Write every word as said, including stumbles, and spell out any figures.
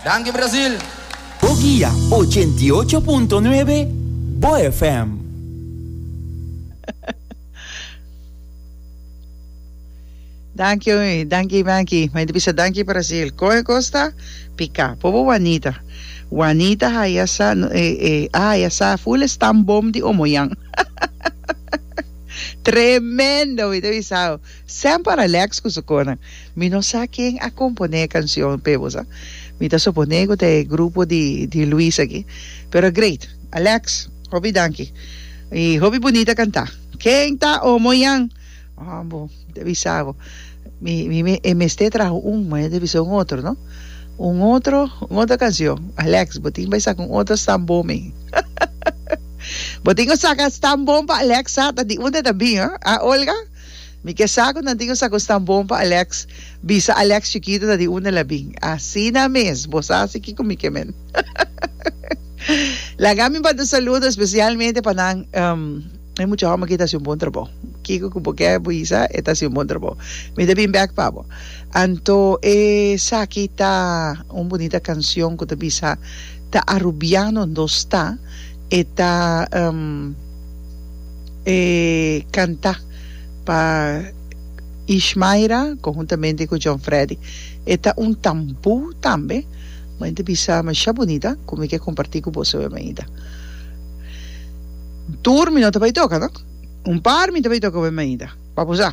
Danki Brasil! Bo Guia ochenta i ocho punto nuebe Bo F M. Danki, danki, danki. Mi ta bisa danki Brasil. Koe kosta pika. Pobo Juanita. Juanita haya sa, eh, eh, haya sa full stambom di Omoyan. Tremendo, mi ta bisa. Semper Alex ku su konan. Mi no sa ken a komponé e kanshon p'e bo sa. Mi ta suponé ku ta e grupo di di Luis aki. Pero great. Alex, hopi danki. I hopi bunita kantá. Ken ta Omoyan? Ah, bo, mi ta bisa bo. Mi mi mi e mester traha un, ma e ta bisa un otro, no? Un otro, un otro kanshon. Alex, bo tin bai saka un otro stambom ei. Bo tin ku saka stambom pa Alex sa ta di unda ta bin, ah? Ah, Olga? Mi ke sa ku nan tin ku saka un stambom pa Alex, bisa Alex chikito ta di unda el a bin. Asina mes, bo sa si kiko mi ke men. Laga mi manda un saludo especialmente pa nan, um, e mucha hòmber aki ta hasi un bon trabou. Kiko ku bo ke bisa, e ta hasi un bon trabou. Mi ta bin bèk pa bo. Anto esaki ta un bunita kanshon ku ta bisa ta Arubiano nos ta. E ta e kantá pa Ishmaira konhuntamente ku John Freddy. E ta un tambú tambe. Mi ta bisa masha bunita ku mi ke kompartí ku boso awe mainta. Tur mi no ta bai toka no. Un par mi ta bai toka awe mainta. Pa bo sa.